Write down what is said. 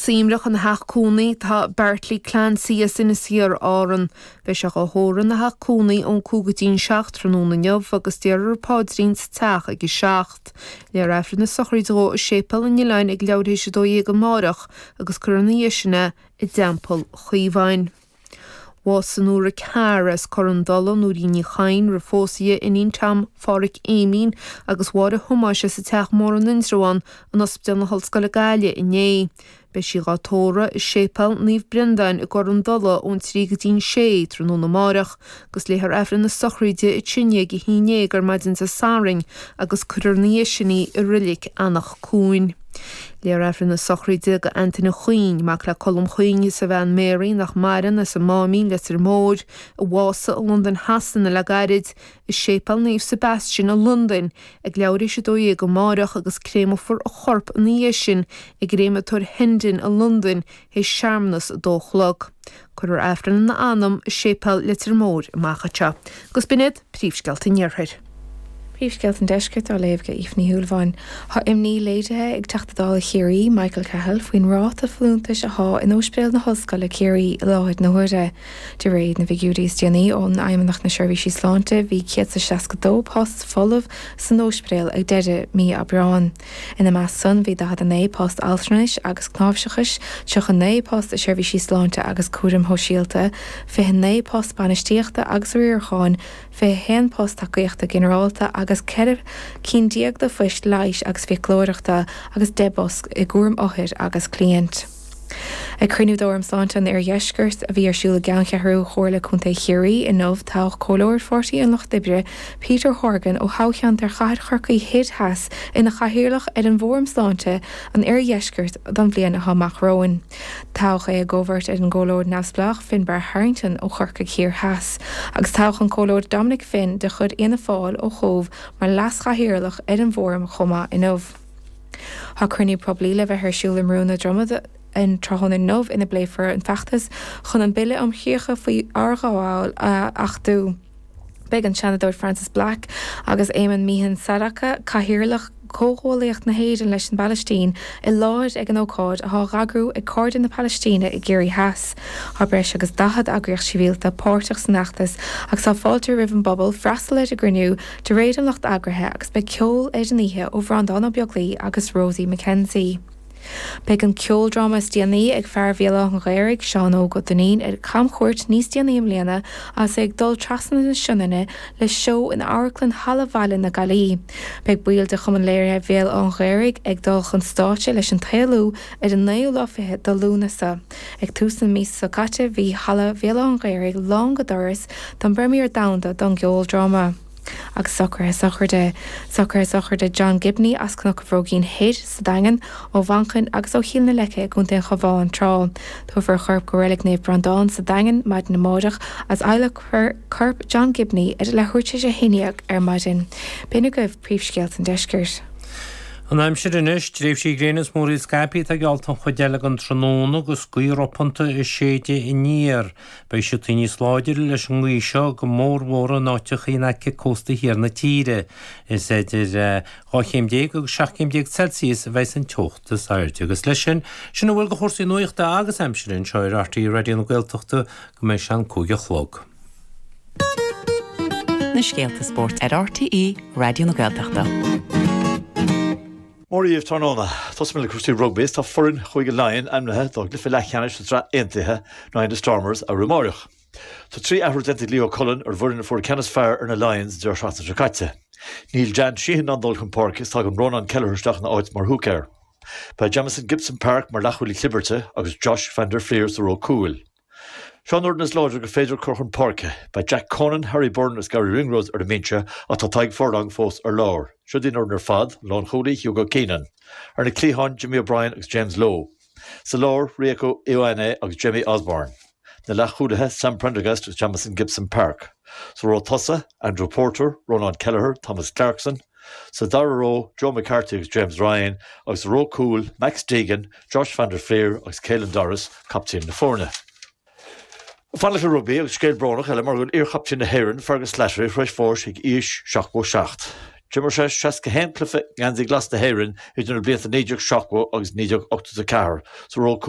Suaimhneach ina theach cónaí tá Bartley Clancy as Inis Oírr, Árann. Beidh sé dhá thórramh ina theach cónaí ón 5 go dtí'n 7 tráthnóna inniu agus déarfar paidrín sa teach ag a 7. Léifear Aifreann na sochraide dhó i Séipéal an Oileáin ag leathuair théis 12 amáireach agus cuirfear ina dhiaidh sin é i dTeampall Chaomháin. Bhásaigh Nóra Carr as Cor an Dola, Nóirín Ní Chadhain, roimh phósadh di, iníon Tom Phádhraic Éimín agus Mháire Thomáis as an Teach Mór in Indreabhán in Ospidéal na hOllscoile Gaillimh inné. Beidh sí dhá tórramh i Séipéal Naomh Brendáin i gCor an Dola ón 3 go dtí'n 6 tráthnóna amáireach agus léifear Aifreann na sochraide i ndiaidh 11 ar maidin Dé Sathairn agus cuirfear ina dhiaidh sin í i Reilig Anach Cuain. Léifear Aifreann na sochraide do Antaine Chuinn, mac le Colm Chuinn is a bhean Mary nach maireann as an Máimín, Leitir Móir, a bhásaigh i Londain Shasana le gairid, i Séipéal Naomh Sebastian i Londain ag leathuair théis 12 amáireach agus créamfar a chorp ina dhiaidh sin i gcréamatóir Hendon i Londain théis searmanas a dó a chlog. Cuirfear Aifreann ina anam i Séipéal Leitir Móir amach anseo. Agus b'in iad príomhscéalta an Iarthair. Príomhscéalta an Deiscirt á léamh ag Aoife Ní Shúilleabháin. Tá imní léirithe ag Teachta Dála Chiarraí, Michael Cahill, faoin ráta folúntais athá in Ospidéal na hOllscoile Ciarraí i láthair na huaire. De réir na bhfigiúirí is déanaí ó Fheidhmeannacht na Seirbhísí Sláinte bhí 162 post folamh san ospidéal ag deireadh mí Aibreáin. Ina measc san bhí 49 post altranais agus cnáimhseachais, 39 post i seirbhísí sláinte agus cúraim shóisialta, 29 post bainistíochta agus riaracháin, 21 post tacaíochta ginearálta agus 14 cinn de phoist leighis agus fiaclóireachta agus 10 bpost i gcúram othair agus cliaint. Ag cruinniú d'Fhóram Sláinte an Oirdheiscirt a bhí ar siúl i gceanncheathrú Chomhairle Contae Chiarraí inniu, toghadh Comhairleoir Pháirtí an Lucht Oibre, Peter Horgan ó thoghcheantar Chathair Chorcaí Thoir Theas ina chathaoirleach ar an bhFóram Sláinte an Oirdheiscirt don bhliain atá amach romhainn. Toghadh é i gcomhbheirt ar an gComhairleoir neamhspleách Finbarr Harrington ó Chorcaigh Thiar Theas, agus toghadh an Comhairleoir Dominic Finn de chuid Fhianna Fáil ó Chóbh mar leas-chathaoirleach ar an bhfóram chomh maith inniu. Tá cruinniú poiblí le bheith ar siúl i mBrú na Droma an tráthnóna inniu ina bpléifear an feachtas chun an Bille um Chríocha faoi Fhorghabháil a achtú. Beidh an Seanadóir Frances Black agus Éamonn Meehan Sadaqa, Cathaoirleach Chomhghuaillíocht na hÉireann leis an bPalaistín, i láthair ag an ócáid atá á eagrú ag Cairde na Palaistíne i gCiarraí Theas. Tá breis agus 40 eagraíocht shibhialta páirteach san fheachtas agus tá fáilte roimh an bpobal freastal ar an gcruinniú de réir an lucht eagraithe agus beidh ceol ar an oíche ó Bhreandán Ó Beaglaoi agus Rosie McKenzie. Beidh an ceoldráma is déanaí ag fear Bhéal Átha an Ghaorthaidh, Seán Óg Ó Duinnín, ar camchuairt níos déanaí i mbliana agus é ag dul trasna na Sionainne le seó in Amharclann Halla Bhaile na Gaillí. Beidh baill de Chumann Léirithe Bhéal Átha an Ghaorthaidh ag dul chun stáitse leis An tSaolú ar an naoú lá fichead de Lúnasa. Ag tús na míosa seo caite bhí Halla Bhéal Átha an Ghaorthaidh lán go doras don bpremière domhanda don gceoldráma. Agus socruithe sochraide. Socruithe sochraide John Gibney as Cnoc an Bhróigín Thoir sa Daingean, ó Mhanchain agus ó Chill na Leice i gContae an Chabháin tráth. Tabharfar a chorp go Reilig Naomh Breandán sa Daingean maidin amáireach agus adhlacfar corp John Gibney ar a leathuair tar éis a 11 ar maidin. B'in agaibh príomhscéalta an deiscirt. An aimsir anois, tréimhsí gréine is múraíl scaipthe atá geallta an chuid eile den tráthnóna agus gaoth ropánta ag séideadh aniar. Beidh sí níos láidre leis an ngaoth seo go mórmhór in áiteacha in aice cósta thiar na tíre. Is idir 12 chéim agus 17 céim Celsius a bheidh an teocht is airde. Agus leis sin, sin a bhfuil de chúrsaí nuachta agus aimsire anseo ar RTÉ Raidió na Gaeltachta go mbeidh sé an 5 a chlog. Na scéalta spóirt ar RTÉ Raidió na Gaeltachta. Mora dhaoibh tráthnóna. Tosóidh mé le cúrsaí rugbaí is tá foireann Chúige Laighean ainmnithe dá gcluiche leathcheannais sa tSraith Aontaithe in aghaidh na Stormers arú amáireach. Tá 3 athrú déanta ag Leo Cullen ar an bhfoireann a fuair an ceann is fearr ar na Lions an deireadh seachtaine seo caite. Níl Dan Sheehan in ann dul chun páirce is tagann Rónán Kelleher isteach ina áit mar húicéir. Beidh Jamison Gibson-Park mar leathchúlaí clibirte agus Josh van der Flier sa ró cúil. Seo an fhoireann is láidre gur féidir cur chun páirce. Beidh Jack Conan, Harry Byrne agus Garry Ringrose ar an mbinse ach tá Tadhg Furlong fós ar lár. Seo í an fhoireann ar fad, An lánchúlaí, Hugo Keenan. Ar na cliatháin, Jimmy O'Brien agus James Lowe. Sa lár, Rieko Ioane agus Jamie Osborne. Na leathchúlaithe, Sam Prendergast agus Jamison Gibson-Park. Sa ró tosaigh, Andrew Porter, Rónán Kelleher, Thomas Clarkson. Sa dara ró, Joe McCarthy agus James Ryan, agus sa ró cúil, Max Deegan, Josh van der Flier agus Caelan Doris, captaen na foirne. Fanacht le rugbaí agus scéal brónach eile mar go bhfuil iarchaptaen na hÉireann, Fergus Slattery, tar éis bháis ag aois 77. D'imir sé 61 cluiche i ngeansaí glas na hÉireann idir na blianta 1970 agus 1984 sa ró cúil.